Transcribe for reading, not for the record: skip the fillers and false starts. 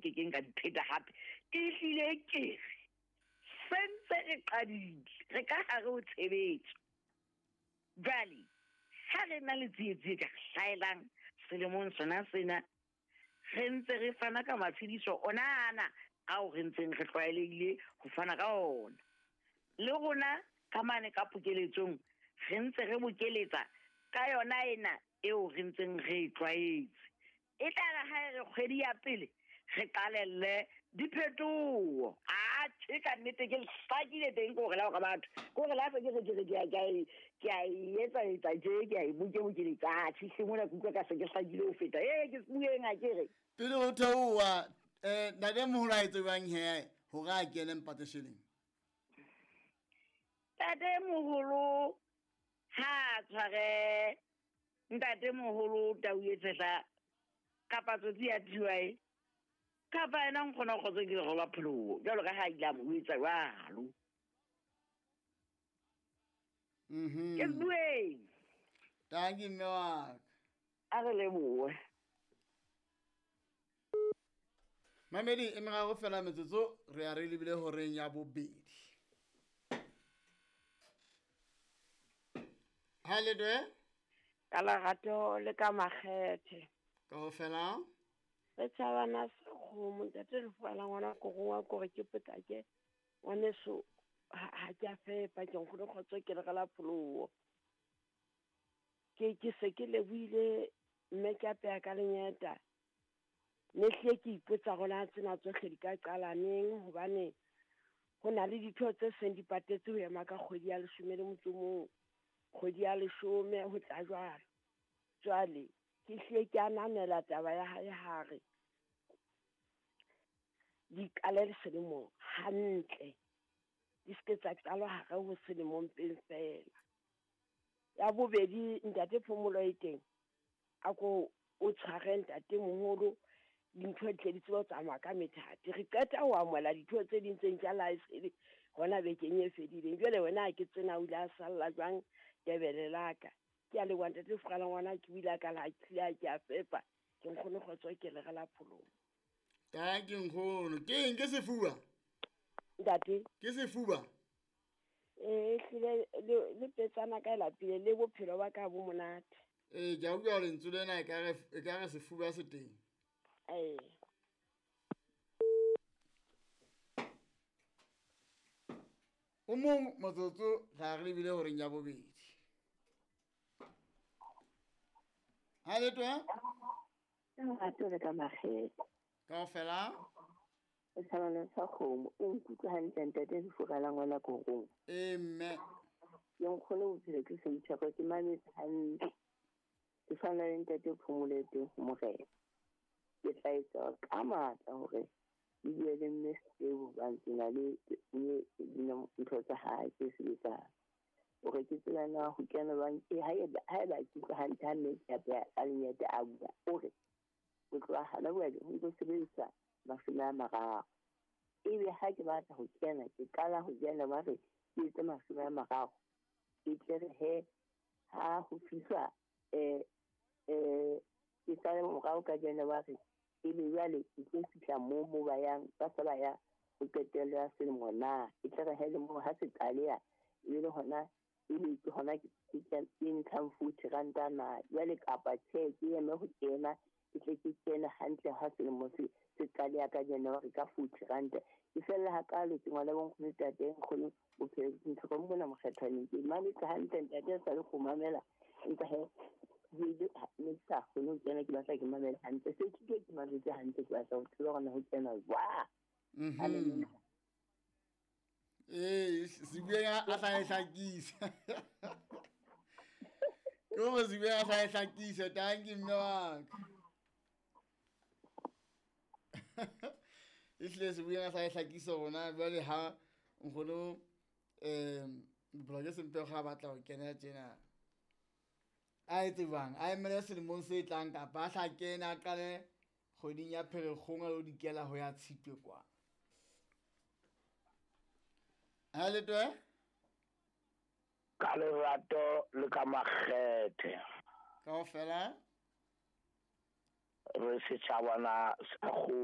kekeng ka di pheta hape. Ke hlile ke re sentse re qadile, re ka hare ho tshebetso. Jwale ha re na le tsietsi e ka re hlahelang selemong sona sena, re ntse re fana ka matshediso ona ana ao re ntseng re tlwaelehile ho fana ka ona. Le rona ka mane ka pokeletsong re ntse re bokeletsa ka yona ena eo re ntseng re e tlwaetse. E tla re ha e re kgwedi ya pele re qalelle diphetoho. Atjhe, ka nnete ke hlakile teng, ke hore la hore batho, ke hore la se ke re ke re ke a ke a e ke a e etsa etsa tje, ke a e boke bokeletsa. Atjhe, hle mona ke utlwa ka se ke hlakile ho feta. Ee, ke bueng ha ke re. Pele ho theoha, ntate moholo a etse jwang he hore a kene mpate sheleng? Ntate moholo ha a tshware ntate moholo tau e tshehla kapa tsotsi ya TY kapa yena nkgono kgotso ke lerolo pholoho jwalo ka ha a ile a mo etsa jwalo. Ke bueng. Tanki mme wa ka. A re lebohe. Mamedi e meraro fela metsotso re ya re lebile horeng ya bobedi. Ha le dwe? Ka lerato le ka makgethe. Kaofela. Re tjhabana sekgomo ntate lefu la ngwana korong wa kore ke potlake ngwaneso ha ke a fepa ke nkgono kgotso ke le re la pholoho. Ke se ke lebohile mme ke apeha ka lenyeta. Ne hlile ke ipotsa hore na tsena tsohle di ka qala neng hobane ho na le ditho tse seng di patetse ho ema ka kgwedi ya leshome le motso o mong, kgwedi ya leshome ho tla jwalo. Jwale ke hlile ke ananela taba ya hae hare di qale selemo hantle, di se ke tsa qalwa hare ho selemo mpeng fela. Ya bobedi ntate Phomolo e teng, a ko o tshware ntate moholo dintho di tle di tsebe ho tsamaya ka methati. Re qeta ho amohela ditho tse ding tse ntjha la esele hona bekeng e fedileng. Jwale wena ha ke tsena o ile a salla jwang tebele la ka. Ke a leboha ntate Furala ngwana ke buile ka la hlile ha ke a fepa ke nkgono kgotso ke le re la pholoho. Tanki nkgono. Ke eng ke sefuba? Ntate. Ke sefuba? Ee, hlile le petsana ka e lapile le bophelo ba ka bo monate. Ee, ke a utlwa hore lentswe lena e ka re sefuba se teng. Ee. O mong motsotso ra re lebile horeng ya bobedi. Ha le twe? Lerato le ka makgethe. Kaofela? O tshwana sa kgomo, o nkutlwa hantle ntate lefu la ngwana korong. Ee mme. Ke nkgono bophelo ke semtheko ke mametse hantle. Ke tshwana le ntate Phomolo e teng ho morena. Ke tla etsa ka matla hore ke bue le mme Setebo hobane ke na le ntho tsa hae tse sebetsang. Hore ke tsebe na ho kena jwang, haeba ke utlwa hantle ha mme ke apeha a lenyate a bua, o re ho tloha hana jwale ho ntso sebedisa 30. Ebe ha ke batla ho kena, ke qala ho January ke etse 30. E tle re he ha ho fihlwa ke sale morao ka January, ebe jwale ke tlo fihla moo ba yang, ba se ba ya ho qetello ya selemo na. E tle re he le moo ha se qaleha, ebe le hona ebe ke hona ke ntshang 40 ranta na. Jwale kapa tjhe ke eme ho kena, ke tle ke kene hantle ha selemo se qaleha ka January ka 40 ranta. Ke fella hakalo ke ngwana bo nkgono ntate nkgono bophelo ke ntho mona mokgethwaneng. Ke mametse hantle ntate a sa le go mamela empa he ne ke sa kgone ho kena, ke batla ke mamele hantle. Se ke ke mametse hantle, ke batla ho tseba hore na ho kena jwang. Ee, Sibueng a hla e hlakisa. Ke hore Sibueng a hla e hlakisa, tanki mme wa ka. Ehlile Sibueng a hla e hlakisa rona jwale ha nkgono bophelo ke sempe ga batla ho kena tjena. A etse jwang? A emele selemong se tlang kapa a hla kene a qale kgweding ya Pherekgong a lo dikela ho ya Tshitwe kwa. Ha le twe? Ka lerato le ka makgethe. Kaofela? Re setjhabana sa kgomo.